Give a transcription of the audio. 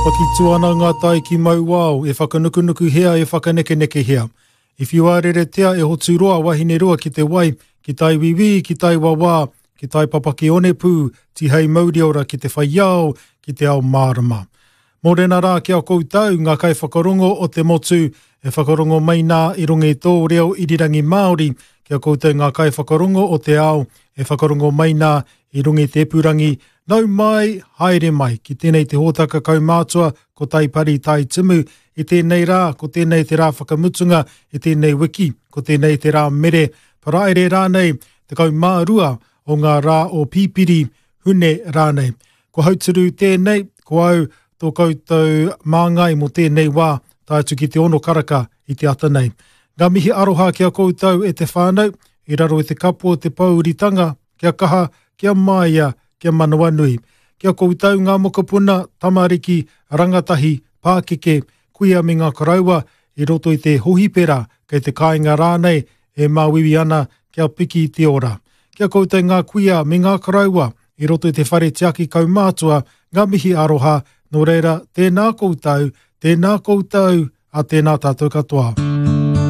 Papaki ana ngā tai ki Mauao, e whakanukunukuhia, e whakanekenekehia. I whiuareretea e Hoturoa Wahineroa ki te wai, ki tai wiwī, ki tai wawā, ki tai papaki onepū, tihei mauriora ki te whai ao, ki te ao mārama. Mōrena rā ki a koutou, ngā kaiwhakarongo o te motu, e whakarongo mai nā i runga i tō reo irirangi Māori, ki a koutou ngā kaiwhakarongo o te ao, e whakarongo mai nā i runga i te epurangi, nau mai, haere mai, ki tēnei te hōtaka kaumātua ko Taipari Tai Timu, i tēnei rā, ko tēnei te rā whakamutunga, i tēnei wiki, ko tēnei te rā mere, paraire rānei, 12 o ngā rā o Pipiri, Hune rānei. Ko Hauturu tēnei, ko au tō koutou māngai mō tēnei wā, tae atu ki te ono karaka i te ata nei. Ngā mihi aroha ki a koutou e te whānau, i raro i te kapo o te pōuritanga, kia kaha, kia māia, kia manawanui. Ki a koutou ngā mokopuna, tamariki, rangatahi, pākeke, kuia me ngā koroua i roto i te hohipera, kei te kāinga rānei, e māuiui ana kia piki te ora. Ki a koutou ngā kuia me ngā koroua i roto i te whare tiaki kaumātua, ngā mihi aroha, nō reira, tēnā koutou, tēnā koutou, a tēnā tātou katoa.